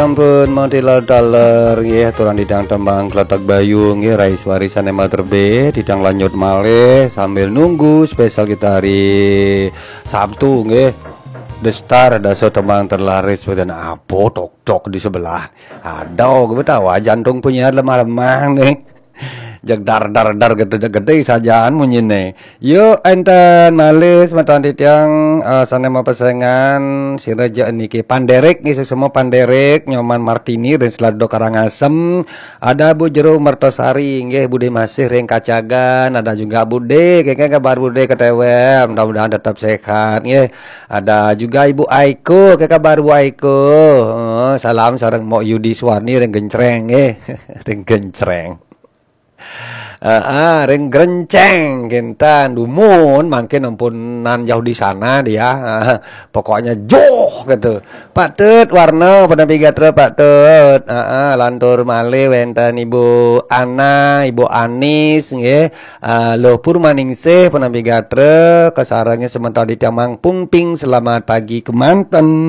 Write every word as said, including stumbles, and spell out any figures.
Ampun, mau tilar taler nggih, aturan titiang tembang Kletek Bayu nggih, rais warisan Emal Terbe, titiang lanjut malih sambil nunggu spesial kita hari Sabtu nggih. The Star, dasa tembang terlaris, beten apa tok-tok di sebelah. Aduh, gue tahu jantung punya lemah-lemah nih. Jegdar dar dar gede gede sajaan munyine. Yuk enten malih semeton titiang, eh, sane mapesengan sira je niki Panderik nggih, suksema Panderik, Nyoman Martini ring Selado Karangasem, ada Bu Jero Mertosari nggih, Bude masih ring Kacagan, ada juga Bude, kengken kabar Bude ketewe, mudah-mudahan tetap sehat nggih. Ada juga Ibu Aiko, ke kabar Bu Aiko? Eh, salam sareng Mok Yudi Suwarni ring Gencreng nggih. Ring Gencreng. Heeh, ring Grenceng kinten dumun mangkin ampunan jauh di sana dia. Heeh, pokoknya joh gitu. Pak Tut Warna penapi gatra Pak Tut. Heeh, lantur malih wenten Ibu Ana, Ibu Anis nggih. Eh, Luh Purmaningsih penapi gatra kasarengin semeton di Tiamang Pungping, selamat pagi kemanten.